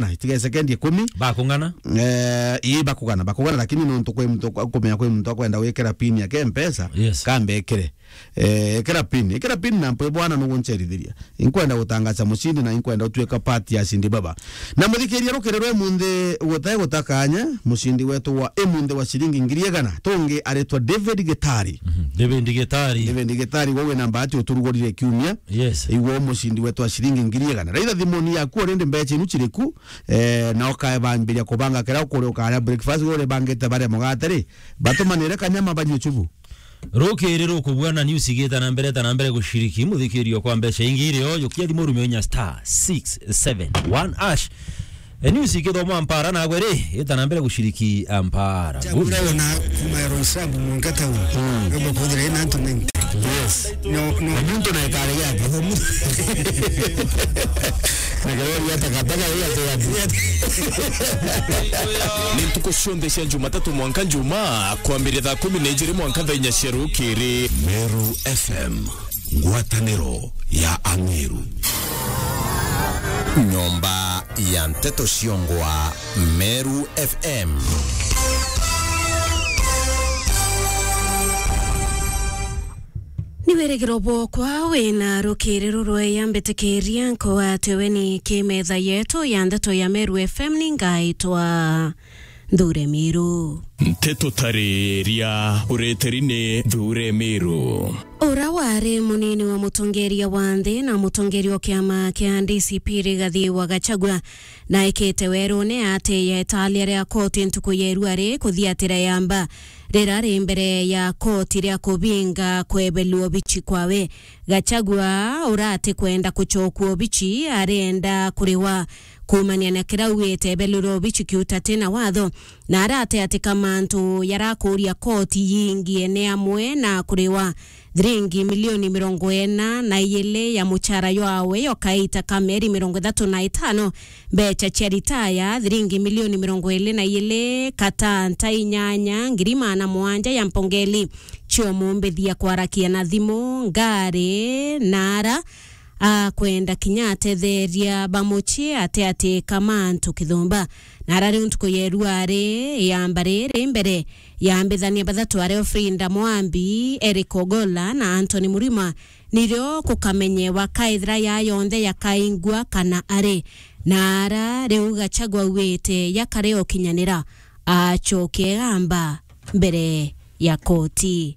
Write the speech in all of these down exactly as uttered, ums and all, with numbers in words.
na itige sekendi ikumi. Bakung'ana? Eh, ii, bakugana, bakugana, lakini nontu kwi muntu ukumenya kwi muntu akwenda gwikira pin yake Mpesa, yes, kambe ikire. Eh, ikira pin, ikira pin na mpwe bwana nuguncherithiria. Inkwenda gutangaza mucindi na inkwenda utuika part ya cindi baba. Na muthikiria rukiri rwa imunthi gutae gutakanya, mucindi wetu wa imunthi wa ciringi ngiri igana, tungi aritwa David Gitari. Mhm. David Gitari. David Gitari, gwe wina mbati uturugurire kiumia. Yes. Igwe mucindi wetu wa ciringi ngiri igana. Raitha thimuni yaku already mbecha inu chiriku, eh, na ukae bambiria kubanga kira ukuri ukaria breakfast, uri bangite baria mugate ri, batumanire kanyama banywe chubu. Rukiri rukubua na news igita na mbere, ta na mbere gushiriki muthikirio kwa mbecha ingi iri o, jukia thimu rume inya star six seven one hash. E, news ikithomwa mpara nagwe ri, ita na mbere gushiriki mpara. Chagura ona kuma ya Roysambu mwanka town. Mm. Kama kuthira ina antu ninety. Yes. No, no. Na muntu na ikari yake. Na kirori ya takataka ya yake. Ni ntuku cionthe cia Jumatatu mwanka Njumaa, kwambiria thaa kumi na ijiri mwanka thaa inya cia rukiri. Meru F M, ngwataniro ya Ameru. Nyomba ya nteto ciongwa, Meru F M. Ni wirigiro bwokwa wina rukiri rurweya, mbitikiria nkwatwe we ni kimetha yetu ya ndeto ya Meru F M, ni ngaitwa Nthure Miru. Nteto tariria ureteri ni Nthure Miru. Ura wari munini wa mutongeria wa nthi na mutongeria o kiama kia D C P Rigathi wa Gachagua naikite werune ati yetalia ria koti ntuku ya irua ri kuthiatira yamba rira ri mbere ya koti ria kubinga kwebelua obichi kwawe. Gachagua urati kwenda kuchokua obichi arenda kuriwa kuumania na kira auite ebelura obichi kiutate na watho, na arate ati kamantu yarakuria koti yingie ni amwe na kuriwa thiringi milioni mirongo ina na ijiri ya muchara jwawe jwa kaita ka mieri mirongo ithatu na itano, mbecha cia ritaya thiringi milioni mirongo iri na ijiri, katanta inyanya ngiri maana mwanja ya mpongeli cia umumbithia kwarakia na thimu, ngari, na ara akwenda kinya atetheria ba mucii ate ati kamantu kithumba. Na ara riu ntuku ya irua ri yamba riri mbere ya ambithania bathatu ario Frida Mwambi, Eric Ogolla na Anthony Murima, nirio kukamenyewa kaithira ya yonthe yakaingua kana ari. Na ara riu Gachagua auite yakare ukinyanira, acoke gamba mbere ya koti.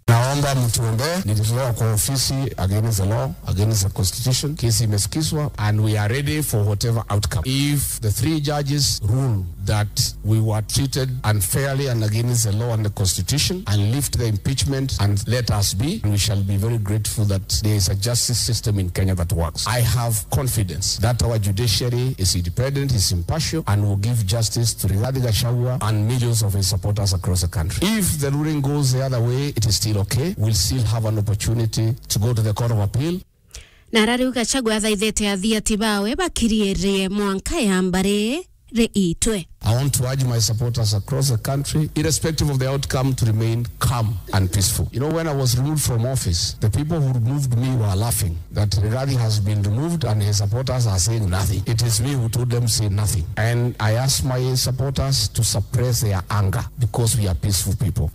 Naomba mtuombee, nilitolewa kwa ofisi against the law, against the constitution. Kesi imesikizwa and we are ready for whatever outcome. If the three judges rule that we were treated unfairly and against the law and the constitution and lift the impeachment and let us be, we shall be very grateful that there is a justice system in Kenya that works. I have confidence that our judiciary is independent, is impartial, and will give justice to Rigathi Gachagua and millions of his supporters across the country. If the ruling goes the other way, it is still okay. We'll still have an opportunity to go to the Court of Appeal. Na ara riu Gachagua athaithite athiati bawe bakiririe mwanka ya mbari riitwe. I want to urge my supporters across the country, irrespective of the outcome, to remain calm and peaceful. You know, when I was removed from office, the people who removed me were laughing that Rigathi has been removed and his supporters are saying nothing. It is me who told them to say nothing. And I ask my supporters to suppress their anger because we are peaceful people.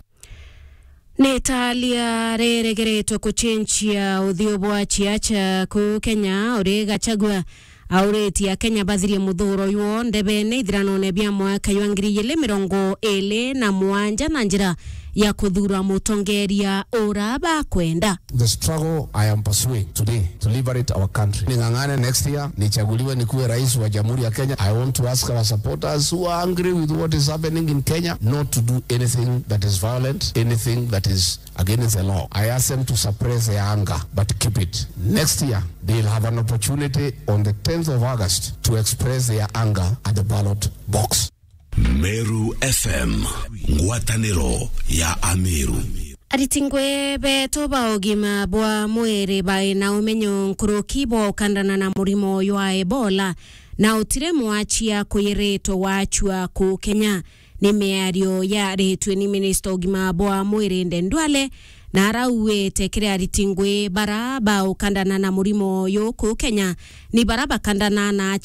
Ni italia riregeretwe kucenjia uthio bwa ciaca kuu Kenya, uri Gachagua auritie Akenya bathirie muthuro jwao ndebene ithiranone bia mwaka jwa ngiri ijiri mirongo iri na mwanja na njira ya kuthura mutongeria ura bakwenda. The struggle I am pursuing today to liberate our country. Ning'ang'ane next year, nichaguliwe nikuwe rais wa Jamhuri ya Kenya. I want to ask our supporters who are angry with what is happening in Kenya not to do anything that is violent, anything that is against the law. I ask them to suppress their anger, but keep it. Next year, they'll have an opportunity on the tenth of August to express their anger at the ballot box. Meru F M, ngwataniro ya Ameru. Ariti ngwe betu ba ugima bwa mwiri baina umenyo nkuruki bwa ukandana na murimo jwa Ebola, na utire mwachia kuyiritwe wachua kuu Kenya. Ni miario yaritwe ni minista ugima bwa mwiri Aden Duale Na arauite kiri ariti ngui bara baukandana na murimo uyu kuu Kenya, ni bara bakandana na